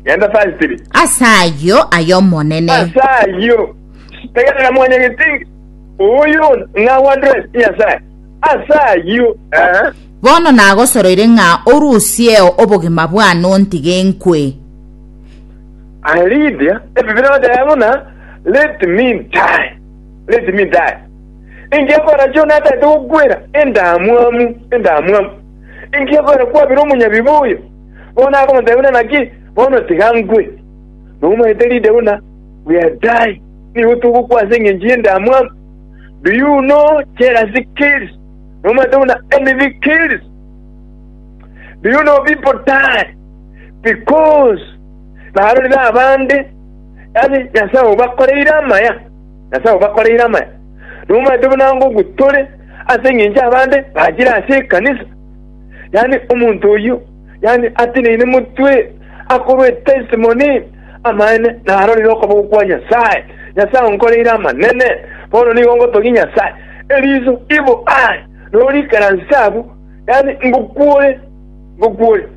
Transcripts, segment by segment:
Genda verse 3. Ase ayio aye Omonene. Ase ayio, tegerera mwanyagetinge, oyo ng'a address Nyasae. Ase ayio, eh. Bono nagosoroire ng'a orusieo obogima bwane ontige nkwe. Aye Lydia, Ebibilia egoteba buna, Let me die, let me die. Inki ekogera Jona atagete gokwera endamwamu, endamwamu? Inki ekogera kwabire omonyabibe oyo? Bono akomotebia buna naki, bono tiga nkwe. Nomanyete Lydia buna we are dying, nigo togokwa ase engencho y'endamwamu. Do you know jealousy kills? Nomanyete buna envy kills? Do you know people die because barorire abande yaani Nyasae obakoreire amaya, Nyasae obakoreire amaya. Nomanyete buna ngokwa tore ase engencho abande bachire ase ekanisa. Yaani omonto oyio yaani ateneine motwe akorwa etestimony amaene narorire okoboko kwa Nyasae. Nyasae onkoreire amanene, bono nigo ngotogia Nyasae. Eriso ibo aye norikaranse abwo, yaani ngokwore, ngokwore.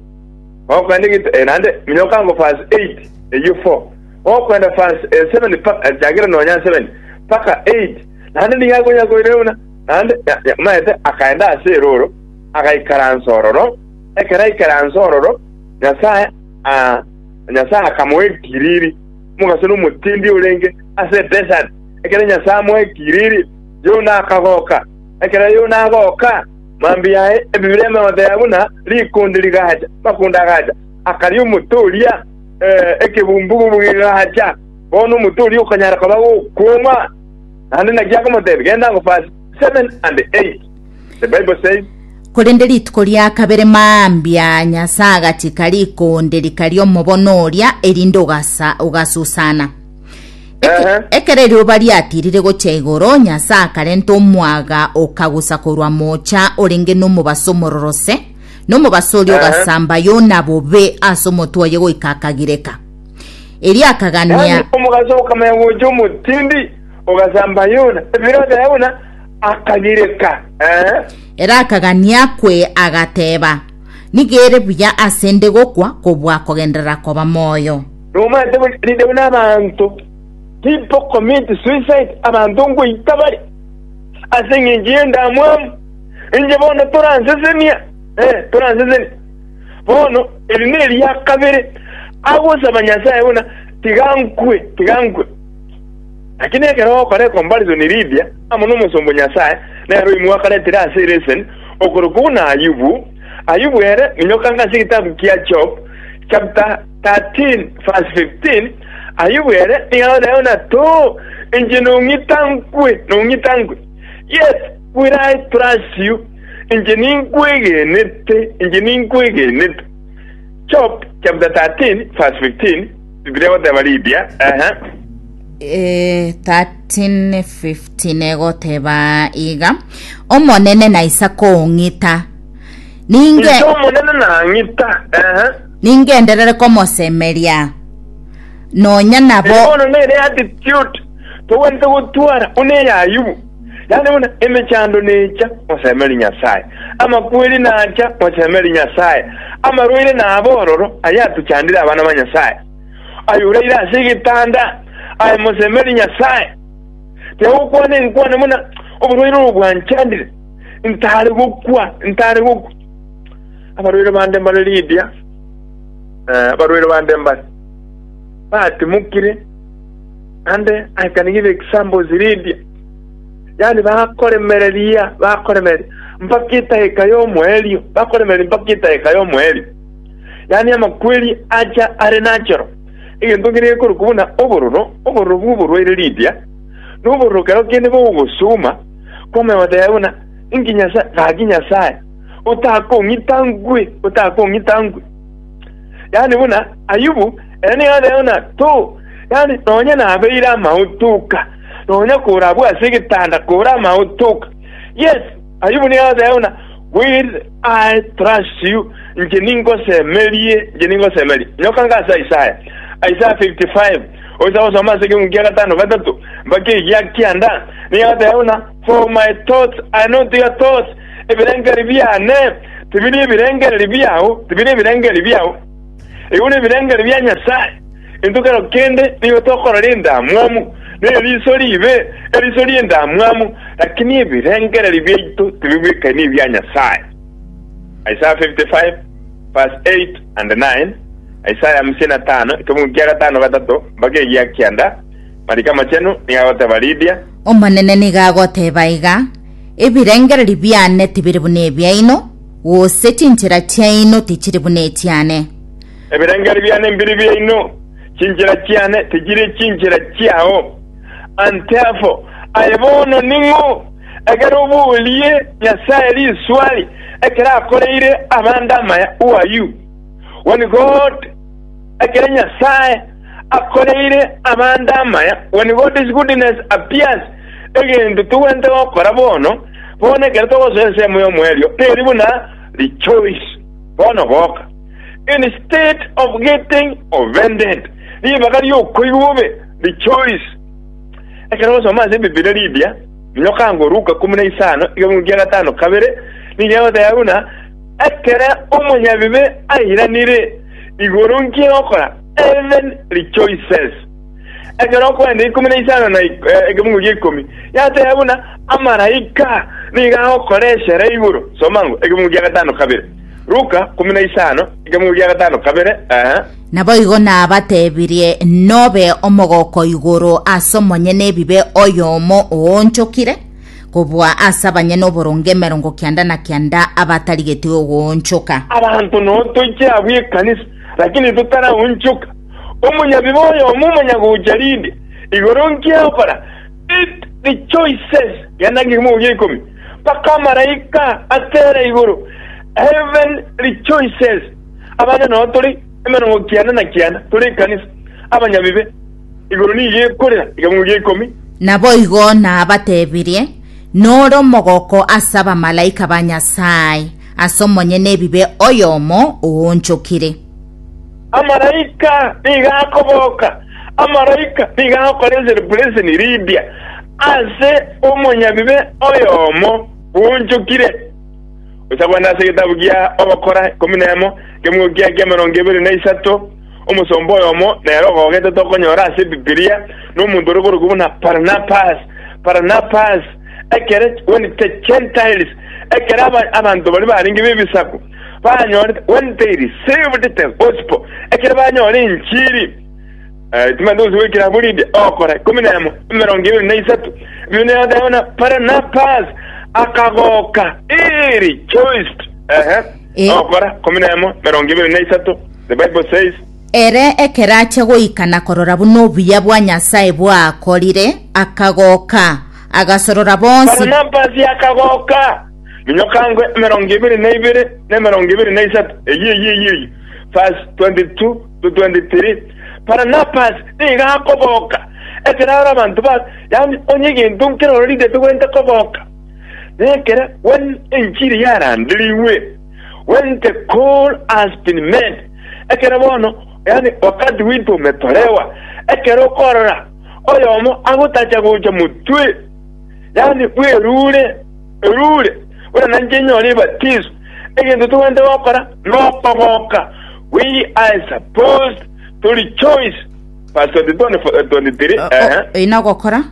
Gokoenda egento eh, naende minyoka ango verse 8 eyio 4 gokoenda verse eh, 7 paka eh, chakera nonya 7 paka 8 naende nigo akonya koirera buna naende ya- ya- omanyete akaenda ase eroro agaikaransa ororo ekero aikaransa ororo Nyasae ah, Nyasae akamoa ekiriri omogaso nomotindi orenge ase edesert ekero Nyasae amoa ekiriri Yona akagoka ekero Yona agoka Mambia yaye Ebibilia emegotebia buna rikonde rigacha, amakonde agacha, akaria omote oria, eh, ekebumbugubu gegacha. Bono omote oria okanyara koba gokwoma. Naende naki akomotebia, Genda ango verse 7 and 8. The Bible says, Korende rituko ria kabere mambia Nyasae agachika rikonde rikaria omobono oria, erinde ogasa, ogasusana. Eke- Ehe. Ekero erioba riatirire gochia igoro, Nyasae akarenta omwaga okagusa korwa moocha orenge nomobaso omororose, na omobaso oria Ehe. ogasamba Yona bobe ase omotwe oye goika akagireka. Erio akagania Yaani omogaso okamanya gocha omotindi ogasamba Yona, Ebibilia egoteba buna akagireka. Ehe. Ere akagania akwe, agateba, Nigo ere buya ase 'nde gokwa kobua kogenderera koba moyo. Nomanyete buna rinde buna abanto people commit suicide, abanto ngoita bare ase engencho y'endamwamu. Inche bono toransesenia, eh, toransesenia. Bono eri neria kabere agosaba Nyasae buna tiga nkwe, tiga nkwe. Lakini ekero ogokora ecomparison Lydia amo nomosomba o Nyasae nere oimwe akaretire ase eleseni okorokwa buna Ayubu, Ayubu ere minyoka ase egetabu kia Job chapter 13 verse 15, Ayubu ere nigo agoteba buna too, inche nong'ita nkwe, nong'ita nkwe. Yet will I trust you, inche ninkwegenete, inche ninkwegenete. Job chapter 13 verse 15, Biblia egoteba Lydia, ehe. Eh, 13:15 egoteba iga omonene naisa kong'ita ninge Inche Omonene nang'ita, ehe. Ningenderere komosemeria, nonya nabo. Eye bono nere attitude togwenerete gotwara buna eya Ayubu, yaani buna emechando necha, mosemerie Nyasae, amakweri nacha, mosemerie Nyasae, amarwaire nabe ororo, aya atochandire abana ba Nyasae. Aye oraire ase egetanda, aye mosemerie Nyasae. Tiga gokwana enkwana buna oborwaire obo bwanchandire, ntare gokwa, ntare gokwa. Abarwaire bande mbare Lidia, eh, abarwaire bande mbare batimokire, and I can give examples Lidia, yaani bakoremereria bakoremereria mpaka etageka y'omoerio, bakoremereria mpaka etageka y'omoerio, yaani amakweri acha are natural, egento kere gekorokwa buna obororo, obororo bw'oborwaire Lidia, na obororo kero kende bogogosuma, kwamanya goteba buna inki Nyasae, gaki Nyasae, otakong'ita nkwe, otakong'ita nkwe. Yaani buna Ayubu, ere nigo ateeba buna to, yaani nonya nabeire amaotoka, nonya kore abwo ase egetanda kore amaotoka. Yes, Ayubu nigo ateeba buna will I trust you, inche ningosemerie, inche ningosemerie. Nyoka nga ase Isaya, Isaya 55, oisa gosoma ase ekeungu kia gatano gatato mpaka egia kianda, nigo ateeba buna for my thoughts are not your thoughts, Ebirengererio biane tibiri ebirengererio biao, tibiri ebirengererio biao. Igo nebirengererio bia Nyasae. Intwe kero kende nigo tokorora endamwamu, na eriso ribe, eriso ri'endamwamu, lakini ebirengererio biaito tibibwekaini ebia Nyasae. Isaiah 55 verse 8 and 9, Isaya 55, ekemungu kia gatano gatato mpaka egia kianda, Mariko Amachenu nigo agoteba Lidia. Omonene nigo agoteba iga, Ebirengererio biane tibiri buna ebiaino, gose chinchera chiaino tichiri buna echiane. Ebirengererio biane mbiri biaino, chinchera chiane tichiri chinchera chiao. And therefore, aye bono ning'o, ekero oborie Nyasae riswali ekero akoreire abande amaya, who are you? When God, ekero Nyasae akoreire abande amaya, when God's goodness appears, egento togwenerete gokora bono, bono ekero togosoa ensemo y'omoerio, neri buna rejoice, bono goka. Instead of getting offended, ribaga ri'okoigwa bobe, rejoice. Ekero ogosoma ase Ebibilia Lydia, minyoka ango Luka 15, ekemungu kia gatano kabere, nigo egoteba buna ekere omonyabibe airanire, igoro nki egokora? Heaven rejoices. Ekero okoenda 15 na ekemungu gia ikomi, yateba buna amaraika nigo agokora eshere igoro. Soma ango ekemungu kia gatano kabere. Luka 15, ekemungu gia gatano kabere, eeh. Naboigo nabatebirie, Nobe omogoko igoro ase omonyene ebibe oyomo oonchokire, kobua ase abanyene oboronge emerongo kianda na kianda abatarigeti ogoonchoka. Abanto noo toiche abwo ekanisa, lakini totaraonchoka. Omonyabibe oyomo omonyagocha rinde, igoro nki agokora? It rejoices. Genda ekemungu gia ikomi, mpaka amaraika atere igoro. Heaven rejoices. Abande nao tore emerongo kianda na kianda, tore ekanisa, abanyabibe, igoro nigo ekorera ekemungu gia ikomi. Naboigo nabatebirie, Nore omogoko ase abamalaika ba Nyasae, ase omonyene ebibe oyomo oonchokire. Amalaika nigo akoboka, amalaika nigo agokora eserebureseni rimbia ase omonyabibe oyomo bwonchokire. Gocha kogenda ase egetabu gia Ogokora 11, ekemungo kia ki'emerongo ebere na isato, omosomba oyomo nere ogogete tokonyora ase Ebibilia, nomonto ore korokwa buna Barnabas. Barnabas, ekere when the Gentiles, ekere aba- abanto baria barenge b'ebisaku banyorete, when they received the gospel, ekere banyora enchiri, Eh, timanyete gose goikera abwo rinde ogokora 11 23 Biblia egoteba buna Barnabas akagoka, he rejoiced. Ehe. Eh. Ogokora 11 23 The Bible says Ere ekero achia goika na korora buna obuya bwa Nyasae bwakorire, akagoka, agasorora bonsi. Barnabas akagoka. Minyoka ngwe 22 na 23 eyio eyio eyio eyio verse 22 to 23 Barnabas nigo akoboka ekero are abanto ba yaani onye egento nkeroro rinde togwenerete koboka nekere when enchiri yaranderigwe when the call has been made ekero bono yaani wakati wito umetolewa ekero okorora oyomo agotacha gocha motwe yaani bwerure erure buna nainche nyore ebatiso egento togwenerete gokora nokoboka We are supposed to rejoice. Verse 22 and 23. Ehe. Oyi nogokora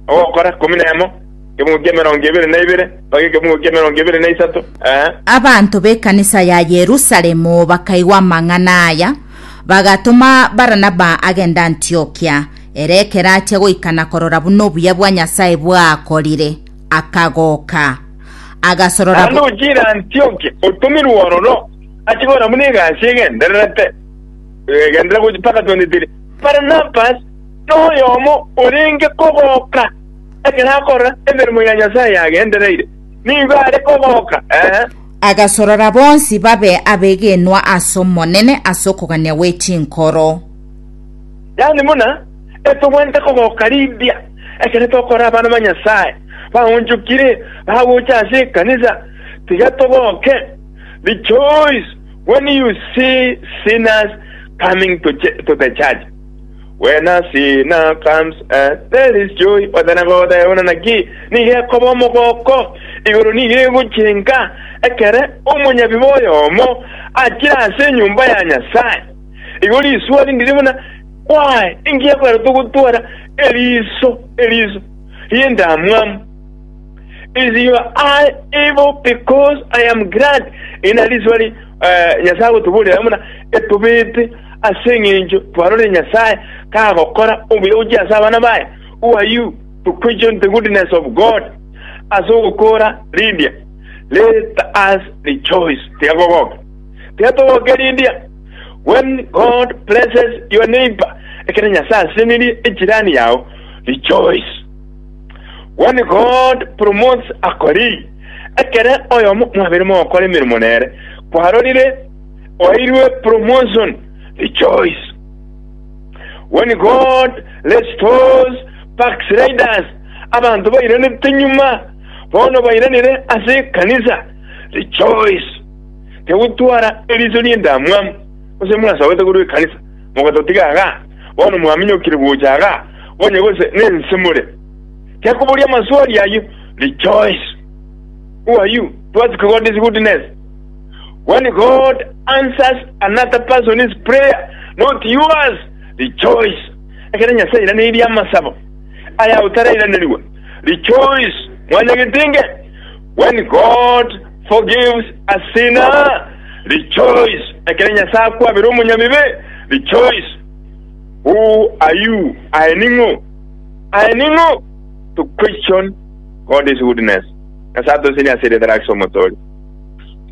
Ogokora 11 ekemungu kia 22 mpaka ekemungu kia 23. Ehe. Abanto b'ekanisa ya Yerusalemu bakaigwa amang'ana aya, bagatoma Baranaba agende Antiokia. Ere ekero achia goika na korora buna obuya bwa Nyasae bwakorire, akagoka. Agasorora Naende ochiire Antiokia, otomirwe ororo, achie korora buna egasi egendererete, egenderera gochia mpaka 23. Barnabas noyomo orenge kogoka ekero akorora emeremo ya Nyasae yagendereire, nigo are kogoka, ee. Agasorora bonsi babe abegenwa ase Omonene ase okogania gwe chinkoro. Yaani buna etogwenerete kogoka rimbia ekero tokorora abana ba Nyasae baonchokire bagocha ase ekanisa, tiga togoke. Rejoice when you see sinners coming to, to the church. When a sinner comes, there is joy. Otana goteba buna naki nigo ekoba omogoko igoro nigo egochenka. Ekere omonyabibe oyomo achire ase enyomba ya Nyasae, igo riswali ndiri buna, Why, inki ekogera togotwara eriso eriso ri'endamwamu? Is your eye evil because I am glad? Eri nari riswali eh, Nyasae agotoboria buna etobete ase eng'encho twarorire Nyasae kagokora obuya gochia ase abana baye. Who are you to question the goodness of God? Ase ogokora Lydia, let us rejoice. Tiga kogoka. Tiga togoke Lydia. When God blesses your neighbor, ekero Nyasae asesenirie echirani yao, rejoice. When God promotes a colleague, ekere oyomo mwabere mogokora emeremo nere, kwarorire oeirwe promotion, rejoice. When God restores backsliders, abanto bairanete nyuma, bono bairanire ase ekanisa, rejoice. Tigotwara eriso ri'endamwamu, gose mwasabete korwa ekanisa, mogatotiga igaa, bono mwaminyokire gocha igaa, onye gose nense more. Tiakoboria amaswali ayio, rejoice. Who are you to ask God's goodness? When God answers another person's prayer, not yours, rejoice. Ekero Nyasae airaneirie amasabo aya otarairanerigwa, rejoice. Mwanyagetinge, when God forgives a sinner, rejoice. Ekero Nyasae akwabera omonyabibe, rejoice. Who are you? Aye ning'o? Aye ning'o to question God's goodness? Nyasae atosenie ase erieta riake ase Omotoori.